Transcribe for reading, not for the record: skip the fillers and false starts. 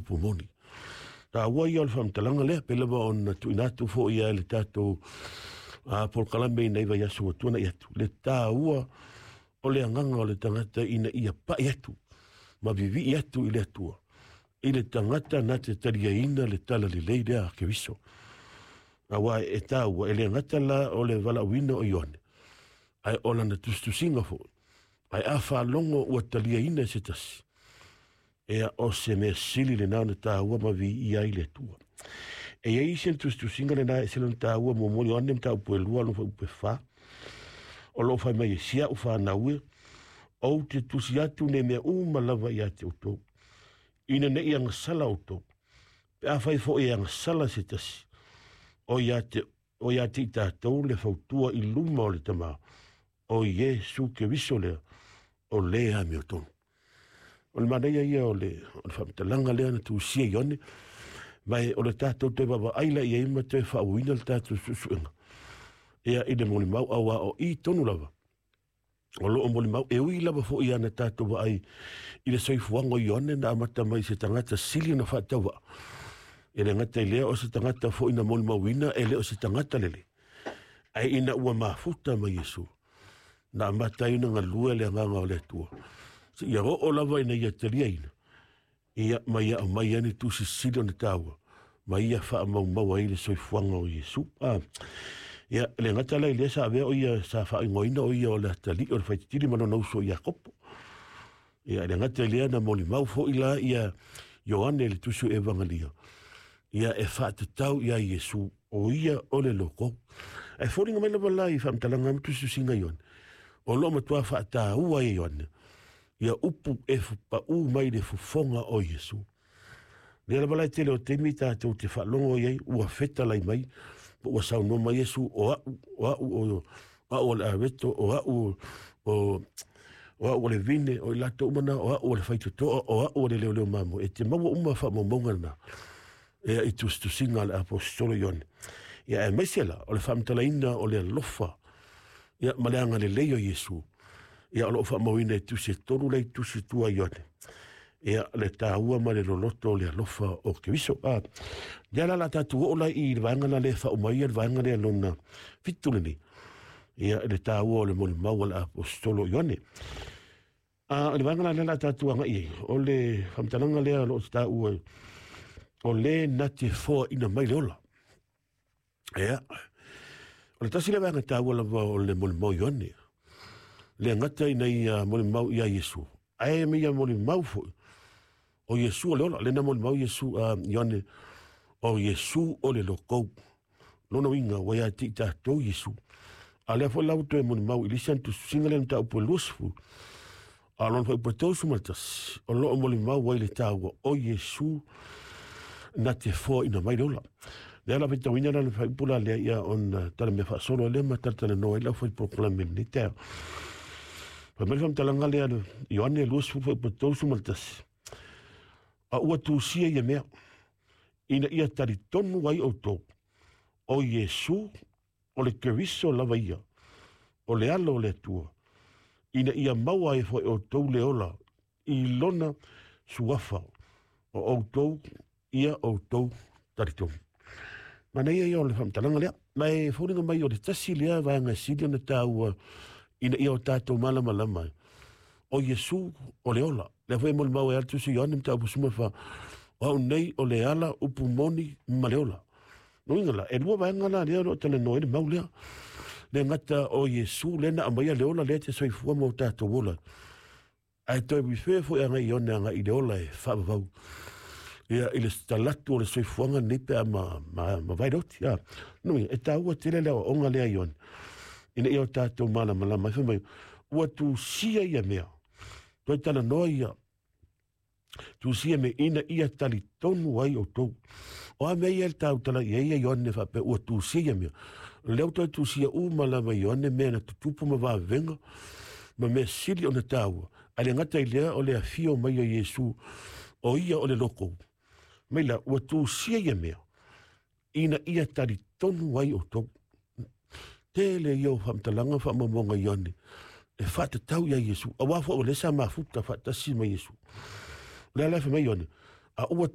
upu moni. Taua ia o le faamatalaga lea, pei lava ona tuuina atu foi ia i le tatou polokalame ina i vaiaso ua tuanai atu, le taua o le agaga o le tagata ina ia pai atu ma vivii atu i le Atua, i le tagata na te taliaina le tala lelei lea a Keriso. Aua e taua, e le gata la o le valaauina o Ioane, ae o lana tusitusiga foi. Ae a faalogo ua taliaina e se tasi, ea o se mea sili lena ona taua ma viia ai le Atua. E iai isi na tusitusiga lena e ese lona taua muamua Ioane mataupu e 2 lona fuaiupu e 4. O loo fai mai e si a'u fanau e, ou te tusi atu nei mea uma lava ia te outou, ina ne i agasala outou. Pe afai foi e agasala se tasi, o ia te o ia te i tatou le fautua i luma o le Tama, o Iesu Keriso lea, o le amiotonu. O le manaia ia o le faamatalaga lea na tusia Ioane, ma o le tatou toe vaavaai la i ai ma toe faauuina le tatou suesuega ia i le molimau, aua o i tonu lava o loo molimau. E ui lava foi ana tatou vaai i le soifuaga o Ioane na amata mai se tagata sili ona faatauvaa, e le gata i lea o se tagata foi na molimauina e le o se tagata lelei, ae ina ua mafuta ma Iesu na amata ai ona galue le agaga o le Atua seia oo lava ina ia taliaina ia ma ia aumai ai ni tusi sili ona taua ma ia faamaumau ai le soifuaga o Iesu. Ia le gata la i lea sa avea o ia sa faaigoaina o ia o le atalii o le faititili ma lona uso Iakopo. Ia le gata i lea na molimau foi la ia Ioane le tusi o Evangelia, ia e faatatau ia Iesu o ia o le loko. Ae foliga mai lava la i faamatalaga ma tusitusiga Ioane, o loo matua faataua e Ioane ia upu e paū mai le fofoga o Iesu. Lea lava la e tele o taimi tatou te faalogo i ai ua fetalai mai, po ua saunoa mai Iesu, o a'u, o a'u, o a'u o le aveto, o a'u o o a'u o le vine, o i latou uma na, o a'u o le faitotoa, o a'u o le leoleo mamoe. E te maua uma faamaumauga na ea i tusitusiga a le aposetolo Ioane. Ia aemaise la o le faamatalaina o le alofa ia ma le agalelei o Iesu, ia o loo faamauina e tusi e tolu lea i tusi tua Ioane, ia le taua ma le loloto o le alofa o Keriso. Lea la la tatou oo la i le vaega la lea faauma ia le vaega lea lona 7 lenei, ia le taua o le molimau a le aposetolo Ioane. O le vaega la lea la tatou agai ai, o le faamatalaga lea o loo taua o le na te foaina mai le ola. Ia, o le tasi le vaega taua lava o le molimau Ioane, le gata ina ia molimau ia Iesu, ae ma ia molimau foi o Iesu o le ola. Le na molimau Iesu Ioane o Iesu o le lokou. Lona uiga ua ia te i tatou Iesu. A lea foi la ua toe molimau i le isi ana tusitusiga lea mataupu e 20, a lona fuaiupu e 31, o loo molimau ai le taua o Iesu na te foaina mai le ola. Lea la faitauina la le fuaiupu la lea ia ona tala mea faasolo lea ma talatalanoa ai le aufai polokalame i lenei taeao. Fai mai le faamatalaga lea Ioane 20 fuaiupu e 31, a ua tusia ia mea ina ia talitonu ai outou o Iesu o le Keriso lava ia, o le alo o le Atua, ina ia maua ai foi outou le ola i lona suafa o outou ia outou talitonu. Manaia ia o le faamatalaga lea. Ma e foliga mai o le tasi lea vaega sili ona taua ina ia o tatou malamalama ai, o Iesu o le ola. Lea foi e molimau ai a le tusi Ioane mataupu 14, o au nei o le ala, upu moni ma le ola. Lona uiga la, e lua vaega la lea o lo o talanoa ai le mau lea. Le gata o Iesu lea na aumaia le ola lea te soifua ma o tatou ola, ae toe refer foi agai Ioane agai i le ola e faavavau ia i le talatu o le soifuaga lenei pe a ma vai le oti. Lona uiga, e taua tele le aoaoga lea Ioane, ina ia o tatou malamalama ai. Fai mai, ua tusia ia mea, toe talanoa ia tusia me ina ia talitonu ai outou. O a mea ia le tautala i ai ia Ioane faapea ua tusia ia mea. Lea ua toe tusia uma lava Ioane mea na tutupu ma vavega ma mea sili ona taua. Ae le gata i lea o le afio mai o Iesu, o ia o le loko. Mai la, ua tusia ia mea ina ia talitonu ai outou. Tele ia o faamatalaga faamaumauga Ioane e faatatau ia Iesu, aua foi o lea sa mafuta faatasi ma Iesu. O lea la e fai mai Ioane, a ua